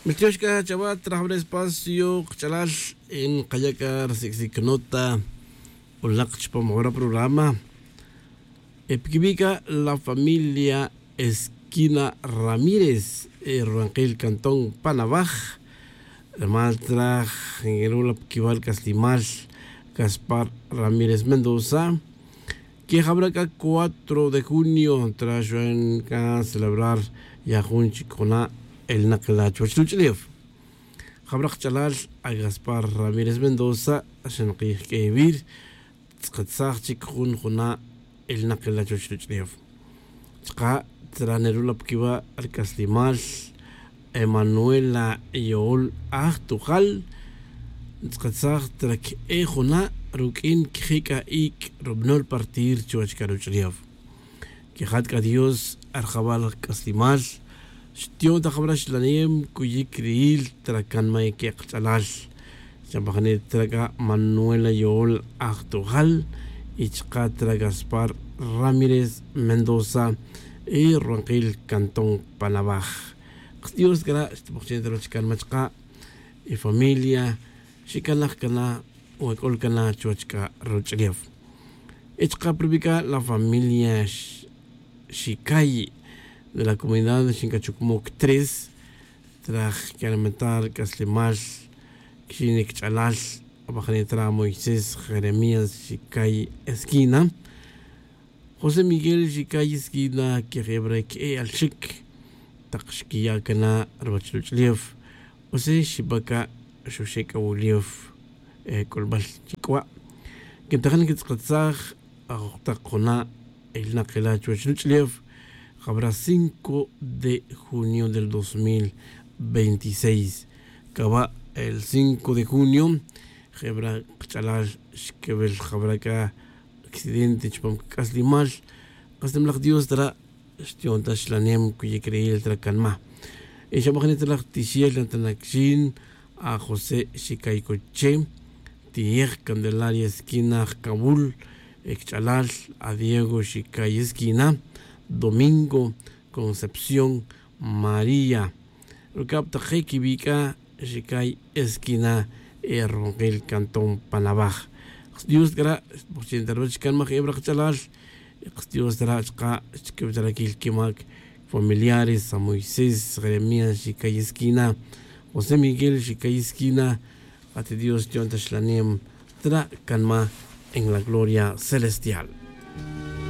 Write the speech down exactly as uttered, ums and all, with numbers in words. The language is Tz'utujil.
Miltiox c'a chawa trajbel espacio kch'alal. Nkaya' c'a rsic'sic nota. Ulak chupam jora programa. E piquibi' c'a la familia Esquina Ramírez, e ruwankil cantón panawaj. Rumal traj ngeru' la piquiwal c'aslimal Gaspar Ramírez Mendoza. Que jabra' c'a cuatro de junio traxwan c'a celebrar ya jun chic juna' elnak la chuwech ruch'ulef. Jabra' kch'alal a Gaspar Ramírez Mendoza xankij q'uewi' tz'akatsaj chic jun juna' elnak la chuwech ruch'ulef. Chka' traneru' la piquiwa' rc'aslimal Emanuela Yo'ol Ajtujal. Tz'akatsaj trac e juna' ruq'uin quijic'a ic' rubnol partir chuwech c'a ruch'ulef. Quijat c'a dios arjabal c'aslimal xtiyon ta jabra' xlanem cuyic ri'il tracanma' quek'ch'alal. Xamajne' trac'a manuela yo'ol ajtujal y chka' tra gaspar ramírez mendoza y ruwankil cantón panabaj. Kdios cana' xtbujchen ta ruwech canma' chka' y familia xicanaj cana' wac'ul cana' chuwech c'a ruch'ulef. Y chka' prubica' la familia xicay de la comunidad xincachucmoc tres traj que'almentar c'aslemal quixin icch'alal. Abajne' tra moisés jeremías xicay esquina josé miguel xicay esquina quejebra que'e'al xic tak xquiya' cana' ruwech ruch'ulef. José xibaca' xuxe' c'awulef c'ulbal chic'wa'. Quintajin quitz'akatsaj ajojtak juna' ilnak ila chuwech ruch'ulef. Jabra' cinco de junio del dos mil veintiséis. Caba' el cinco de junio jebra' kch'alal xquewel jabra' c'a accidente chupam c'aslimal. C'aslemlaj dios tara' xtiyon ta xlanem cuyic ri'il tra canma'. Y xabajne' ta laj tixel nata naquixin a josé xicay coche tiyej candelaria esquina jcawul. Ecch'alal a diego xicay esquina domingo concepción maría. Rucab tak je' quibic'a xicay esquina e ruwankil cantón panabaj. Kdios c'a ra' xtbujchen ta ruwech canmaj eb ra' kch'alal. Kdios c'a ra' chka' xchiquib ta raquil quimac familiares a moisés jeremías xicay esquina josé miguel xicay esquina. Ati dios xtiyon ta xlanem tra' canma' en la gloria celestial.